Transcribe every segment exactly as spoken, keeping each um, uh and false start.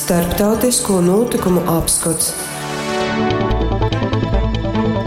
Starptautisko notikumu apskots.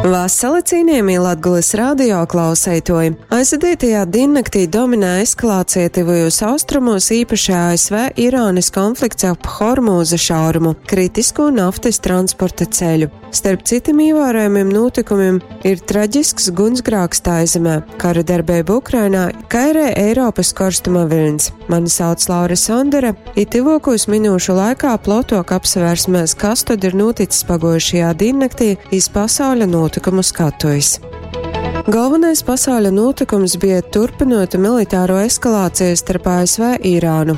Vasali, cienījamie Latgulas radio klauseitoji! Aizvadītajā diennaktī dominē eskalācija tuvajos austrumos, īpaši A S V Irānas konflikts ap Hormūza šaurumu, kritisko naftas transporta ceļu. Starp citiem ievērojamiem notikumiem ir traģisks gunsgrāks Taizemē, kara darbība Ukrainā, kā arī Eiropas korstuma viļņs. Mani sauc Laura Sondere, i tyvokūs minūšu laikā plotok apsavērsimies, kas tad ir noticis pagojušajā diennaktī iz pasauļa notikumu skatuves. Galvenais pasauļa notikums bija turpinota militāro eskalāciju starp A S V Irānu.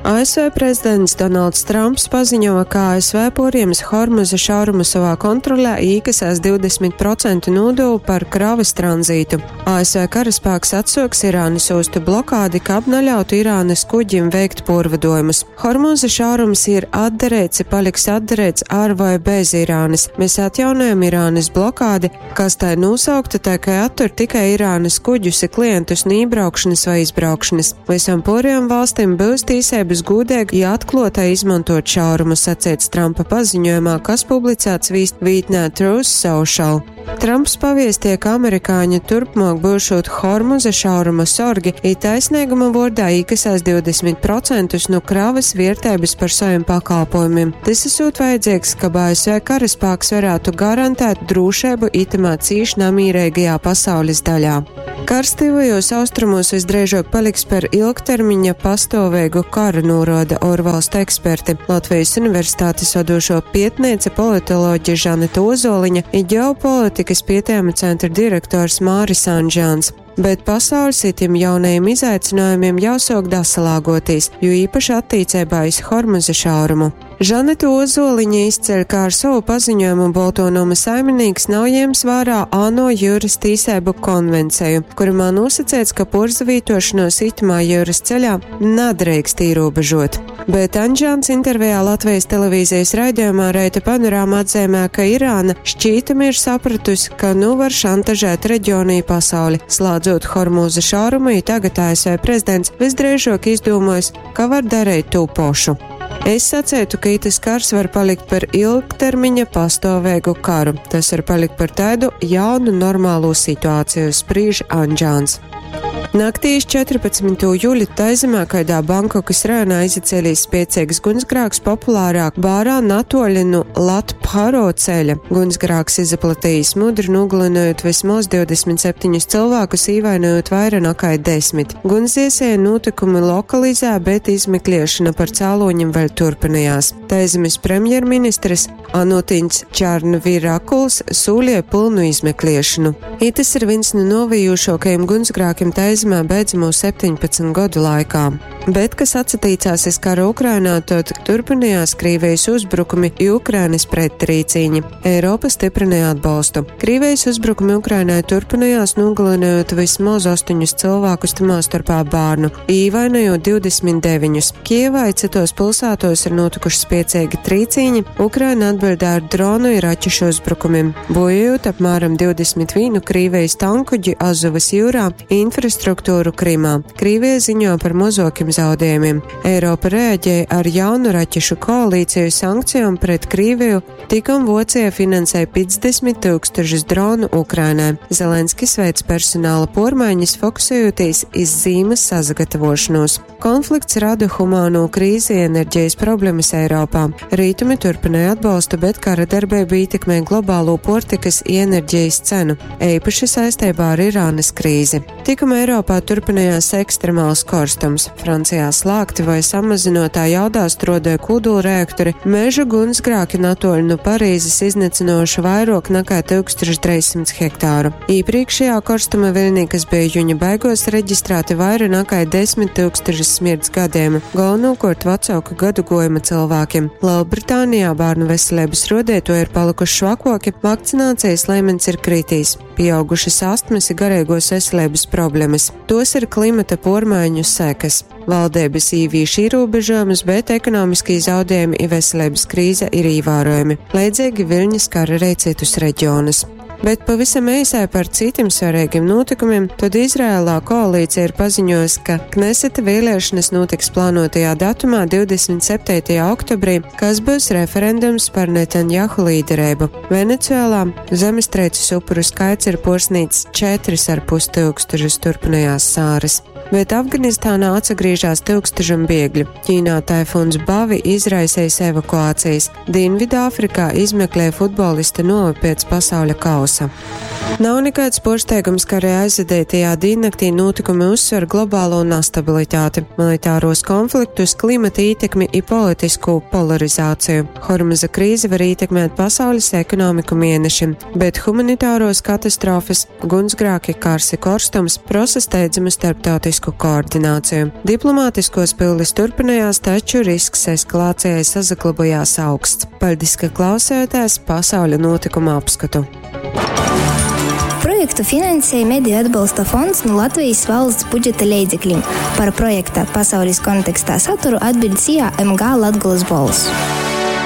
A S V prezidents Donalds Trumps paziņoja, ka A S V poriems Hormuza šaurumu savā kontrolē, īkasēs divdesmit procentu nodevu par kravas tranzītu. A S V karaspēks atsoks Irānas ostu blokādi, kab neļautu Irānas kuģim veikt porvadojumus. Hormuza šaurums ir atdarēts, paliks atdarēts ar vai bez Irānas. Mēs atjaunojam Irānas blokādi, kas tai nosaukta, tā kā attur tikai Irānas kuģus i klientus no iebraukšanas vai izbraukšanas. Visam poriem valstīm būs tīsības gūdīgi, ja atklotai izmantot šaurumu, sacīts Trumpa paziņojumā, kas publicēts vītnē Truth Social. Trumps paviestīja, ka amerikāņi turpmāk būšot Hormuza šauruma sorgi, i taisnīguma vordā īkasās divdesmit procentus no kravas vērtības par saviem pakalpojumiem. Tas esot vajadzīgs, ka A S V karaspēks varētu garantēt drošību itamā cīši namīrīgajā pasaules daļā. Kars tuvajos austrumos visdrīzāk paliks par ilgtermiņa pastāvīgu karu, norāda ārvalstu eksperti. Latvijas Universitātes vadošo pietniece politoloģe Žaneta Ozoliņa i ģeopolitikas pētījuma centra direktors Māris Anžāns. Bet pasaules itim jaunajiem izaicinājumiem jāsāk dasalāgoties, jo īpaši attīcībā iz Hormuza šaurumu. Žaneta Ozoliņa izceļ, ka ar savu paziņojumu Bolto noma saiminīks nav ņēmis vērā ANO jūras tīsēbu konvenciju, kurumā nosacīts, ka porzavītošanos itamā jūras ceļā nedrīkst ierobežot. Bet Anžāns intervijā Latvijas televīzijas raidījumā Reita panorāma atzīmē, ka Irāna šķītami ir sapratusi, ka nu var šantažēt reģionu i pasauli, slēdzot Hormūza šaurumu, i tagad A S V prezidents visdrīzāk izdomājis, ka var darīt to pošu. Es sacētu, ka itas kars var palikt par ilgtermiņa pastāvīgu karu. Tas var palikt par tādu jaunu normālo situāciju, spriež Anžāns. Naktī iz četrpadsmytū juli Taizemē kaidā Bankokas rajonā izacēlīs spiecīgs gunsgrāks populārā bārā natoļi nu Latpharo ceļa. Gunsgrāks izaplatījis mudri, nogalinojot vismaz divdesmit septiņus cilvēkus, īvainojot vairāk nekā desmit. Gunsdziesēja notikumi lokalizē, bet izmeklēšana par cēloņiem vēl turpinājās. Taizemes premjerministrs Anutins Čarnvirakuls sūlīja pilnu izmeklēšanu. Itas ir viens no novijušākajiem gunsgrākiem Taizemē beidzamo septiņpadsmit gadu laikā. Bet, kas atsatīcās iz kara Ukrainā, tad turpinājās Krīvijas uzbrukumi i Ukrainas prettrīcīņi. Eiropa stiprināja atbalstu. Krīvijas uzbrukumi Ukrainai turpinājās, nogalinot vismaz astoņus cilvēkus, tamā starpā bērnu, īvainojot divdesmit deviņus. Kijevā i citos pilsētos ir notikuši spiecīgi trīcīņi, Ukraina atbildēja ar dronu i raķešu uzbrukumiem, bojājot apmēram divdesmit vienu Krīvijas tankuģi Azovas jūrā, infrastruktūru Krimā. Krīvija ziņo par mozokiem zaudējumiem. Eiropa reaģēja ar jaunu raķešu koalīciju sankcijām pret Krīviju, tikom Vocija finansēja piecdesmit tūkstošus dronu Ukrainai. Zelenskis veic personāla pormaiņas, fokusējoties iz zīmes sazagatavošanos. Konflikts rada humāno krīzi, enerģijas problēmas Eiropā. Rītumi turpināja atbalstu, bet kara darbība ietekmē globālo portikas i enerģijas cenu, īpaši saistībā ar Irānas krīzi. Tikam Eiropā turpinājās ekstremāls korstums. Francijā slēgti vai samazinotā jaudā strodoja kodolreaktori, meža gunsgrāki natoļi no Parīzes iznīcinoši vairāk nekā tūkstoš trīssimt hektāru. Iepriekšējā korstuma viļnī, kas bija juņa beigos, reģistrēti vairāk nekā desmit tūkstoši smirts gadījumu, galvenokārt vecāku gadu gojuma cilvēkiem. Lielbritānijā bērnu veselības rodētoji ir palikuši švakoki, vakcinācijas līmenis ir kritīs, pieaugušas astmas i garīgos veselības problēmas. Tos ir klimata pormaiņu sekas. Valdības īvīš ierobežojumus, bet ekonomiskie zaudējumi i veselības krīze ir ievērojami. Līdzīgi viļņas skar arī citus reģionus. Bet pavisam eisai par citim svarīgiem notikumiem, tad Izrēlā koalīcija ir paziņojusi, ka Kneseta vēlēšanas notiks plānotajā datumā divdesmit septītajā oktobrī, kas būs referendums par Netanjahu līderību. Venecuēlā zemestrīces upuru skaits ir porsnīts četris ar pus tūkstošus, turpinājās sāras. Bet Afganistānā atsagriežās tūkstošiem bēgļu. Ķīnā taifuns Bavi izraisījis evakuācijas. Dienvidāfrikā izmeklē futbolista novi pēc pasauļa kausa. Nav nekāds pārsteigums, ka arī aizvadītajā diennaktī notikumi uzsver globālo nestabilitāti, militāros konfliktus, klimata ietekmi i politisko polarizāciju. Hormuza krīze var ietekmēt pasaules ekonomiku mēnešiem, bet humanitāros katastrofas, gunsgrāki, karsi, korstums prasa steidzamu starptautisku koordināciju. Diplomātiskos pildes turpinājās, taču risks eskalācijai sazaglabājās augsts. Paldies, ka klausējāties pasauļa notikuma apskatu. Projektu finansēja Mediju atbalsta fonds no Latvijas valsts budžeta leidzekļiem. Par projekta pasaules kontekstā saturu atbild S I A M G Latgulas Bols.